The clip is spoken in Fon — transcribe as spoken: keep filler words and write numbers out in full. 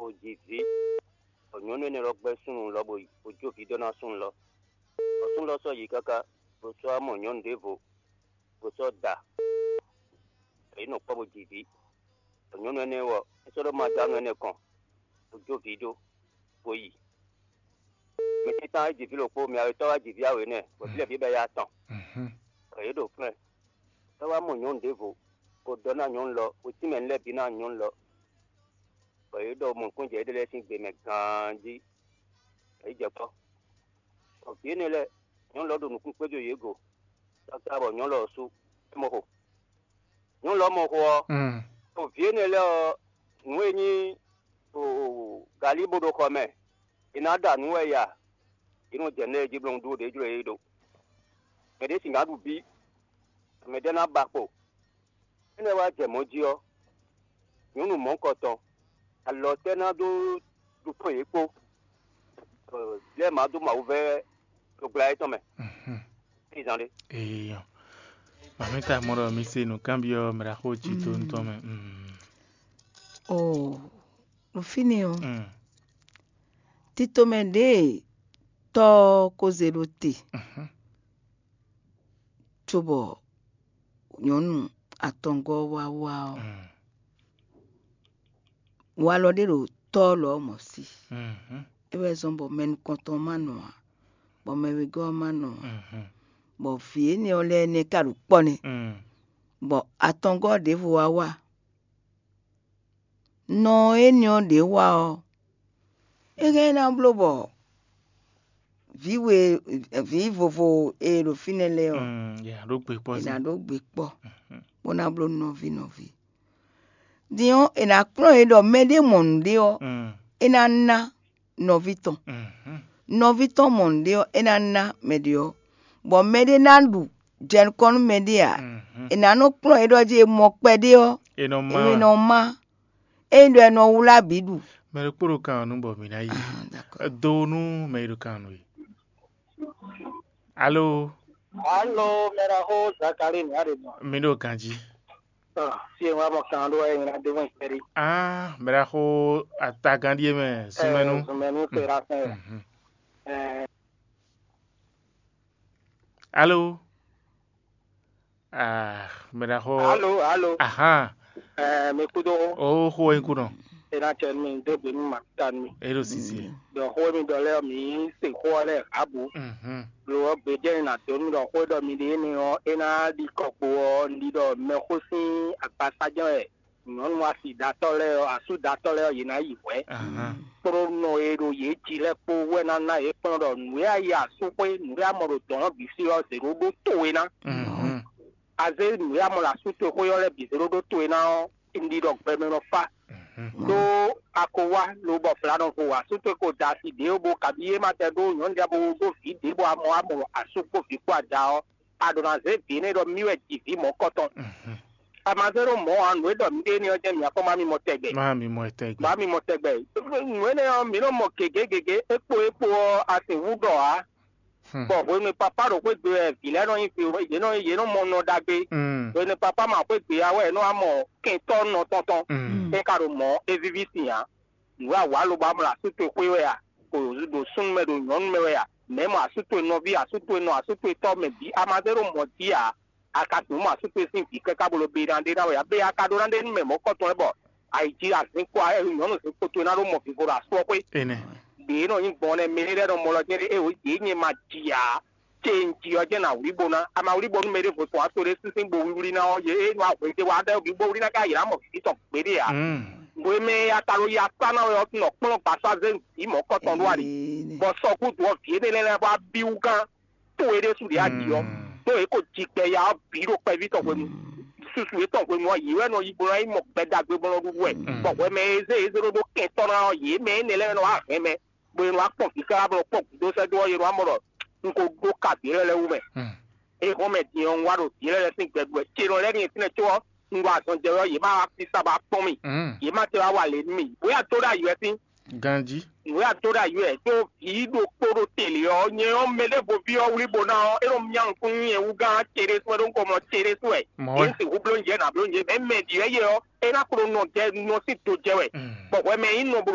bó ji vǐ, bɔ nyɔ̌nu énɛ́ lɔ gbɛ́ súnnu lɔ bó yi, bó jó vǐ dó ná súnnu lɔ. Bɔ súnnu lɔ sɔ́ yi káká, bó sɔ́ wá mɔ nyɔ̌nu ɖěvo, bó sɔ́ da, bɔ yě nɔ kpɔ́ bó ji vǐ. Bɔ nyɔ̌nu énɛ́ ɔ́, é sɔ́ ɖó madanu énɛ́ kɔn, bó jó vǐ ɖó, bó yi. Mɛ tɛ́ntan wá ji vǐ ɖokpó, mɛ awetɔ́ wá ji vǐ awě nɛ́, bɔ vǐ lɛ́ɛ bǐ bɛ́ yá tɔn. Bɔ yě ɖo fínɛ́, é wá mɔ nyɔ̌nu ɖěvo, bó ɖɔ ná nyɔ̌nu lɔ, bó tínmɛ nǔ lɛ́ɛ bǐ ná nyɔ̌nu lɔ, bɔ yě ɖɔ mɔ̌kpɛ́njɛ éɖée lɛ́ɛ sín gbe mɛ ganjí, bɔ yě jɛ kpɔ́. Bɔ vǐ énɛ́ lɛ́ɛ, nyɔ̌nu lɔ ɖo nǔkún kpéjɔ yě go, káká bɔ nyɔ̌nu lɔ sú é mɔ xo. Nyɔ̌nu lɔ mɔ xo ɔ́, ɖo vǐ énɛ́ lɛ́ɛ ɔ́, nǔ e nyí galí bó ɖo xɔ mɛ, è nǎ ɖa nǔ wɛ ya, yě nɔ jɛ nǔ lɛ́ɛ jí bló ɖó ɖě jló yě ɖo. Mɛ ɖě sixá ɖu bí, mɛ ɖé ná ba kpo. Énɛ́ wá jɛ mɔ̌ jí ɔ́, nyɔ̌nu mɔ̌hunkɔtɔn, alɔ tɛ́ ná dó ɖu kpɔ́n yě kpó, bɔ lɛ́ɛ ma dó Mawu vɛ́ ɖo gbla étɔn mɛ. Ézan ɖé. Eeyan. Mamita mɔ ɖɔ mi se nǔkanbyɔ́ mɛ ɖaxó jí to ntɔn mɛ. Mm. Oo, ɖo fínɛ́ ɔ́, Mm. Tito mɛ ɖěe tɔ́ ɔ́ ko zé ɖó te, Mhm. cóbɔ nyɔ̌nu atɔngɔ́ ɔ́ wá wá ɔ́, Mm. walɔ ɖé ɖo tɔ́ ɔ́ lɔ̌ mɔ̌ sí. Mhm. É wɛ zɔ́n bɔ mɛ nukɔntɔn ɔ́ ma nɔ ǎ, bɔ mɛ wegɔ́ ɔ́ ma nɔ ǎ, Mhm. bɔ vǐ énɛ́ ɔ́ lɛ́ɛ nɛ́ ka ɖo kpɔ́ nɛ́, Mm. bɔ atɔngɔ́ ɖěvo wá wá. Nɔ énɛ́ ɔ́ ɖě wá ɔ́, é hɛn ná bló bɔ vǐ we vǐ vovo e ɖo fínɛ́ lɛ́ɛ ɔ́, Mm, yě ná ɖó gbe kpɔ́ è nǎ ɖó gbe kpɔ́, bó ná bló nɔví nɔví. Din ɔ́, è nǎ kplɔ́n yě ɖɔ mɛɖé mɔ nǔɖé ɔ́, Mm, é ná ná nɔví tɔn. Mhm. Nɔví tɔn mɔ nǔɖé ɔ́, é ná ná mɛɖé ɔ́, bɔ mɛɖé ná ɖu jɛ nukɔn nú mɛɖé ǎ. Mhm. È nǎ nɔ kplɔ́n yě ɖɔ jí è mɔ kpɛɖé ɔ́, È nɔ má. È nɔ má. Ényí ɖɔ è nɔ wlá bǐ ɖu. Mɛ ɖokpó ɖo kan ɔ́ nú bɔ mǐ ná yi. Ah, d'accord. Do nú mɛ e ɖo kan ɔ́ nú é. Alo, Alo, mɛɖaxó Zakali nǔ aɖe nɔ. Mi ɖo ganjí. Ah, si e wá mɔ kan ɖó ɛ nyina ɖe wɛn kpɛɖi. Ah, mɛɖaxó atagán ɖíe mɛ súnmɛnú. Súnmɛnú fera fɛn. Mhm. Eh, Alo. Ah, mɛɖaxó. Alo, alo. Ahan. Eh, mi kudo. O xó wɛ nyí kú nɔ. Ena cɛ mi do gbe mi ma ta mi. E ɖo sisi. Dɔ xó mi dɔ lɛ mi se xó lɛ abu. Mhm. Lo ɔ gbe jɛ na do mi dɔ xó dɔ mi de ni ɔ ena di kɔkpo ɔ ndi dɔ mɛ xó sin akpasa jɛ wɛ. Nyɔnu asidatɔ lɛ ɔ, asudatɔ lɛ ɔ, yě ná yi hwɛ. Ahan. Kplɔ́nɔ e ɖo yě jí lɛ́ɛ kpó wɛ ná ná yě kplɔ́n ɖɔ nǔ e a yi asúxwé, nǔ e a mɔ ɖo dɔ̌n ɔ́ bǐ sí ɔ́, zě ɖó ɖó towe ná. Mhm. A zé nǔ e a mɔ ɖo asú towe xwé ɔ́ lɛ́ɛ bǐ zé ɖó ɖó towe ná ɔ́, un ɖi ɖɔ gbɛmɛ nɔ fá. Mhm. Ɖó a ko wá lobɔ fla nɔ vo asú towe ko da asi ɖě bó kabi é ma tɛ ɖó nyɔ̌nu ɖé bó ɖó vǐ ɖě bɔ a mɔ a mɔ asú kpó vǐ kpó ada ɔ́, a ɖǒ ná zé vǐ énɛ́ ɖɔ mì wɛ ji vǐ mɔ̌kɔtɔn. Mhm. A ma zé ɖó mɔ̌ ǎ, nǔ e ɖɔ mǐ ɖe énɛ́ ɔ́ jɛ́n mǐ akpɔ́n má mì mɔ tɛgbɛ. Má mì mɔ tɛgbɛ. Má mì mɔ tɛgbɛ. Nǔ énɛ́ ɔ́, mǐ nɔ mɔ gěgé gěgé, é kpo é kpo ɔ́, a sixú ɖɔ ǎ. Hmm. Bɔ hwenu e papá ɖo xwé gbe wɛ vǐ lɛ́ɛ nɔ nyí vǐ, yě nɔ yě nɔ mɔ nɔ ɖagbe. Hmm. Hwenu e papá ma xwé gbe ǎ wɛ é nɔ wá mɔ kɛntɔ́ nɔ tɔn tɔn. Hmm. É ka ɖo mɔ̌, é víví sin ǎ. Nǔ e a wǎ lobo a mɔ ɖo asú towe xwé wɛ a? Kpo ɖo súnnu mɛ ɖo nyɔ̌nu mɛ wɛ a? Mɛ̌ mɔ asú towe nɔví, asú towe nɔ, asú towe tɔ́ mɛ bǐ a ma zé ɖo mɔ̌ jí ǎ. A ka sixú mɔ asú towe sín vǐ káká bó ló be ná ɖe ná wɛ ǎ. Bé a ka ɖó ná ɖe nú mɛ mɔ̌kɔtɔn lɛ́ɛ bɔ ayǐ jí azǐn kpó nyɔ̌nu zǐn kpó towe ná ɖó mɔ vivo ɖo asú ɔ́ xwé. Énɛ́. Ɖě e nɔ nyí gbɔn nɛ́ mɛ lɛ́ɛ nɔ mɔ lɔ jɛ́n ɖé é wǒ yě nyɛ ma ji ǎ. Ce un ji ɔ́ jɛ́n nǎ wlí bo ná. A ma wlí bónú mɛ ɖěvo tɔn wá to ɖé sínsín bo wlíwlí ná ɔ́, yě é nɔ ahwě ɖé wá ɖɛ́ bǐ bó wlí ná ká yě ná mɔ vǐ tɔn gbeɖé ǎ. Mm. Hwemɛ e a ka ɖo yi akpá ná wɛ ɔ́, nɔ kplɔ́n gbasá zé vǐ mɔ̌kɔtɔn ɖó ali. Bɔ sɔkúdu ɔ́, vǐ énɛ́ lɛ́ɛ lɛ́ɛ wá bí wú gán towe ɖésú ɖě a ɖi ɔ́. Mm. Ɖó yě ko ji gbɛ ya ɔ́ bǐ ɖo kpɛví tɔn hwenu. Susu yětɔn hwenu ɔ́, yě wɛ nɔ yi bo ná yi mɔ gbɛ ɖagbe bó nɔ ɖuɖu wɛ. Mm. Bɔ hwɛmɛ e zé yě zé ɖó ɖó kɛntɔ́ ná ɔ́, yě mɛ énɛ́ lɛ́ɛ nɔ wá hɛn mɛ. Bó e nɔ wá kpɔn vǐ káká bó nɔ kpɔ́n gǔdo sɛ́ dó ɔ́, yě nɔ wá mɔ ɖɔ un ko ɖó ka vǐ lɛ́ɛ lɛ́ɛ wú mɛ. Hmm. É hɔn mɛ din ɔ́, un wá ɖo vǐ lɛ́ɛ lɛ́ɛ sín gbɛgbɛ ce lɔ lɛ́ɛ nyi fínɛ́ có ɔ́, un ɖo azɔn jɛ wɛ ɔ́, yě ma wá fí sá ba kpɔ́n mì. Hmm. Yě ma te wá wa lě nú mì. Bóyá dó ɖo ayǐ wɛ sín. Ganjí. Nǔ e a dó ɖo ayǐ wɛ ɖó vǐ ɖokpó ɖo te lě ɔ́, nyɛ ɔ́, mɛ ɖěvo ví ɔ́ wlí bo ná ɔ́, é nɔ myá nukún nú nyɛ wú gán ce ɖé sú wɛ ɖó un ko mlɔ ce ɖé sú wɛ. Mɔ̌ wɛ. Yě sixú bló nyɛ nǎ bló nyɛ, mɛ mɛ ɖi wɛ yɛ ɔ́, é ná kó nɔ jɛ nɔ sín do jɛ wɛ. Hmm. Bɔ hwɛ mɛ nyí nɔ bó